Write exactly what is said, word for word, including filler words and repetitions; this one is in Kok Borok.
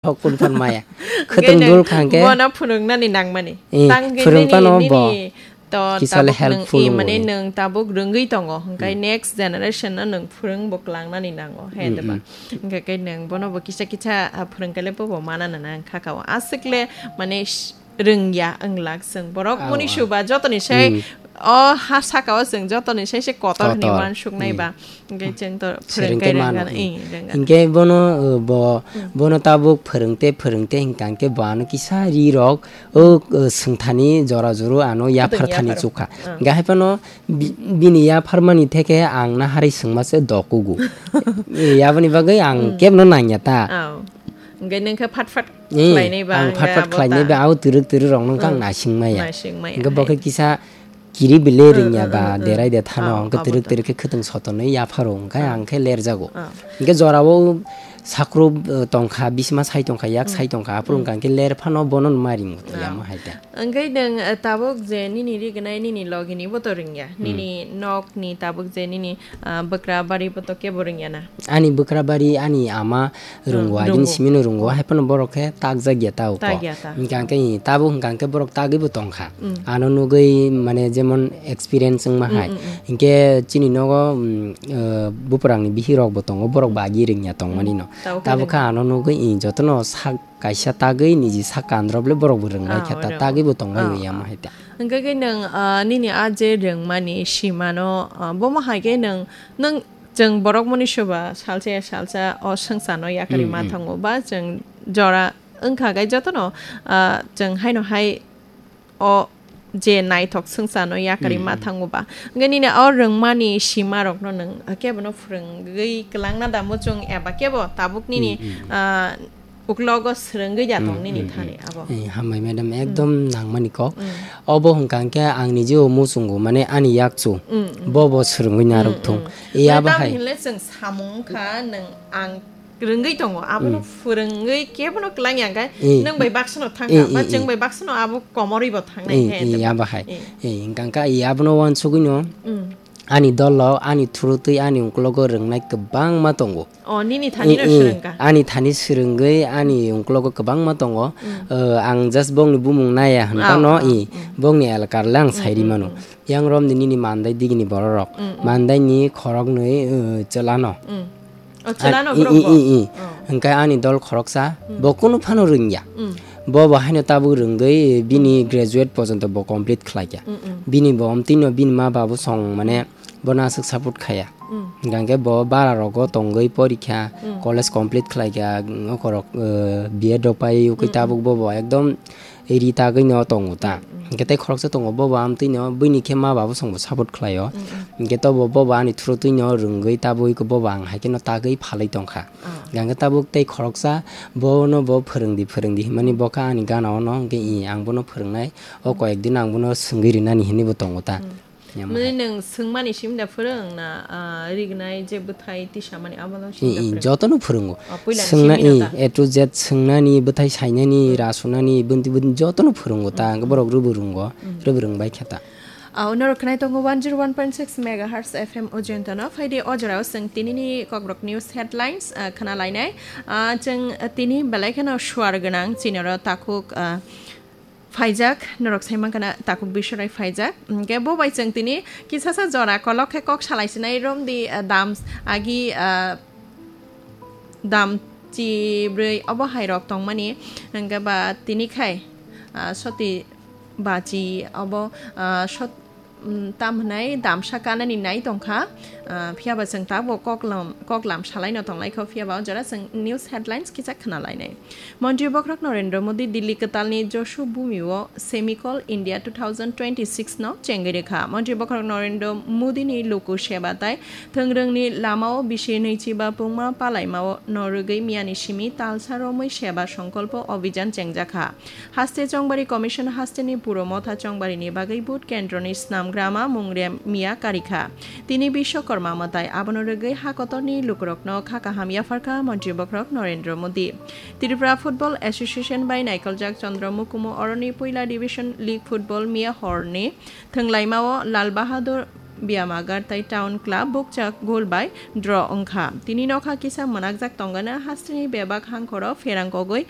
Hok kun phan maya. Hwnkhe Khwtwng nwng dul kha hwnkhe. Bono phwrwngnani nangmani. Eh, Tang hwnkhe phwrwng nini, phano bo nini to kisa le tabuk nwng, helpful eh, wngwi mane mano. Nwng tabuk rwngwi tongo. Hwnkhe Hmm. next generation no nwng phwrwng bo klangnani nango. He Hmm, diba? hmm. Hwnkhe khe nwng bono bo kisa kisa, ah, phwrwng khe le bo bo mana nana wngkha kao. Aswk le mane sh-, rwngya wnglak chwng. Borok Ao, muni ao. suba jotoni sai Hmm. o ha saka o chwng jotoni sai se kotor hwnwi Kotor. uansuknai Hmm. ba. Hwnkhe chwng to Sereng phwrwng khe khe mano, rwngana, hmm. eh, rwngana. Hwnkhe bono, uh, bo, Hmm. bono tabuk phwrwngte, phwrwngte hwnkha hwnkhe bo ano kisa ri rok, o, uh, swngthani jora joro ano yaphar Khwtwng thani yaphar. chukha. Ah. Hwnkhe hai phano bi-, bini yaphar mani theke ang na hari swngma se dokugu. Eh, aboni bagwi ang Hmm. kebno nangya ta. Ao. Hwnkhe nwng khe phat phat Eh, khlainai ba, ang hwnkhe phat phat abo khlainai ta. ba, abo twrwk twrwk rok no wngkha ang Hmm. naising maya. Naising maya Hwnkhe bo hai. khe kisa kiri bile Hmm, rwngya hmm, ba, hmm, hmm. derai de thano, Ah, hwnkhe abo twrwk to. twrwk khe khwtwng sotoni yapharo, hwnkhe Ah. ang khe lerjago. Ah. Hwnkhe jorao sakrup, eh, tongkha, bisma sai tongkha, yak Hmm. sai tongkha, aphuru Hmm. hwnkha hwnkhe ler phano bono ma ringo to Ah. yamo hai ta. Hwnkhe nwng, eh, tabuk je nini rignai nini logini bo to rwngya. Hmm. Nini nokni tabuk je nini, ah, bwkra bari bo to kebo rwngya na. Ani bwkra bari, ani ama Hmm, rwngo, agini rwngo. simino rwngo, hai phano borok khe takjak ya ta uko. Tak ya ta. Hwnkha hwnkhe tabuk hwnkha hwnkhe borok tagwi bo tongkha. Hmm. Ano nugwi mane jemon experience wngma Hmm, hai. hmm, hmm. Hwnkhe chini nogo, mm, eh, buprangni bihik rok bo tongo, borok Hmm. bo agi rwngya tongmani no. Hmm. Tabuk Tabuk khe khe ano nugwi, eh, jotono sak kaisa tagwi niji sak kandrop le borok bo rwngnai Ah, khe ta, oro. tagwi bo tongbai Ah, ya ah. ma hai ta. Hwnkhe khe nwng, ah, nini a je rwngmani simano, ah, bomo hai khe nwng, nwng Chwng borok moni soba salsa ya salsa o swngcharno yakarwi Mm, ma mm. thango ba chwng jora wngkha khe jotono, ah, chwng haino hai o je naithok swngcharno yakarwi Mm, ma mm. thango ba. Hwnkhe nini o rwngmani simarokno nwng kebono phwrwngwi kwlangna da muchung eba kebo tabuk nini, Mm, mm. ah, Uklogo swrwngwi ya tong Mm, nini mm, thani mm. abo. Eh, hambai madam, Mm. ekdom nangmani kok. Mm. Obo hwnkha hwnkhe ang nijeo muchungo, mane ani yakchu. Mm, mm. Bo bo swrwngwi narwk Mm, thung. mm. Eh, Mane abo tamo hai. hinle chwng samung wngkha, nwng ang rwngwi tongo. Abono Mm. phwrwngwi kebono kwlangya hwnkhe Eh, nwng bai baksano thangkha, eh, ba eh, chwng eh. bai baksano abo komorwi bo thangnai Eh, khe, eh, hwnkhe abo ba. hai. Eh. Eh, hwnkha hwnkhe eh, abono uansugwino Mm. ani dolo, ani thurutwi, ani uklogo rwngnai kwbangma tongo. O, nini thani Eh, no eh, swrwngkha? Ani thani swrwngwi, ani uklogo kwbangma tongo. Mm. Eh, ang just bongni bumung naya hwn Ah, phano, ah, eh, mm. bongni elakar le ang Mm, sairi mm, mano. mm. Yang romni nini mandai digini bororok. Mm, mm. Mandaini khoroknwi, eh, chwlano. Mm. O, Ah, chwlano i, borok i, bo? i, i. Oh. Hwnkhe ani dol khoroksa, Mm. bo kunu phano rwngya. Mm. Bo bo haino tabuk rwngwi bini Mm. graduate porjonto bo complete khlaikha. Mm, mm. Bini bo omtwino bini ma babu song mane bono aswk support khaya. Mm. Hwnkhe bo bara rogo tongwi porikha, Mm. college complete khlaikha, mm, okorok, eh, B Ed rok pai ukui Mm, mm. tabuk bo bo ekdom ri tagwi no tongo ta. Mm, mm. Hwnkhe tei khoroksa tongo bo bo amtwino bini khe ma babu song bo support khlaio. Mm, mm. Hwnkhe to bo bo bo ani thurutwi no rwngwi tabuk bo bo ang hai kheno tagwi phalwi tongkha. Ah. Hwnkhe tabuk tei khoroksa bono bo phwrwngdi phwrwngdi hinmani bo kha ani gana ono hwnkhe i ang bono phwrwngnai o koyek din ang bono swngwi rinani hinwi bo tongo ta. Mm. Yamo Mane hai. Nwng swngmani simi da phwrwng na, ah, rignai je bwthai tisamani abono simi da I, i, phwrwng? Jotono phwrwngo. Oh, puila ni Swngna, simi no i, ta? A to Z, swngna ni, bwthai saina ni, Mm. ra suna ni, bwntwi bwntwi jotono phwrwngo ta, Mm, ang mm. borok rwbwrwngo, Mm. rwbwrwng bai khe ta. Ah, norok khwnai tongo one zero one point six megahertz F M Ujjayantano. Phaidi o jorao chwng tinini Kokborok News headlines, ah, khna lainai. Ah, chwng, ah, tini belai kheno suar gwnang, chini oro takhuk, ah, Phaijak, norok sai mankha na takhuk bisorai phaijak. Hwnkhe bo bai chwng tini kisasa jora kolok khe kok salai sinai romdi, ah, dam agi, ah, dam chi bwrwi obo hai rok tongmani. Hwnkhe ba tini khai, ah, soti bachi obo, ah, sot-, mm, tam hwnai damsa kanani nai tongkha, ah, phiyaba chwng tabuk koklam, koklam salaino tonglaikho, phiyaba o jora chwng news headlines kisa khna lainai. Montri bokhorok Narendra Modi Delhi kwtalni Josu Bhumi-o Semicol India two thousand twenty-six no chengwi rwkha. Montri bokhorok Narendra Modi ni luku seba tai thwngrwngni lamao bisi nwichiba pungma palaimao no rwgwi miyani simi talsa romwi seba songkolpo obhijan chengjakha. Haste Chongbari Commission hasteni puro motha chongbarini bagwi vote kendroni snamgrama mungrem miya karikha. Tini Bishwakarma mwtai abono rwgwi ha kotorni lukurokno kha kaham yapharkha Montri bokhorok Narendra Modi. Tripura Football Association bai naikoljak Chandra Mukumu oroni puila division league football miya horni thwnglaimao Lal Bahadur Byamagar tai Town Club bukchak goal bai draw wngkha. Tini nokha kisa mwnakjak tongana hasteni bebak hangkhoro pherang kogwi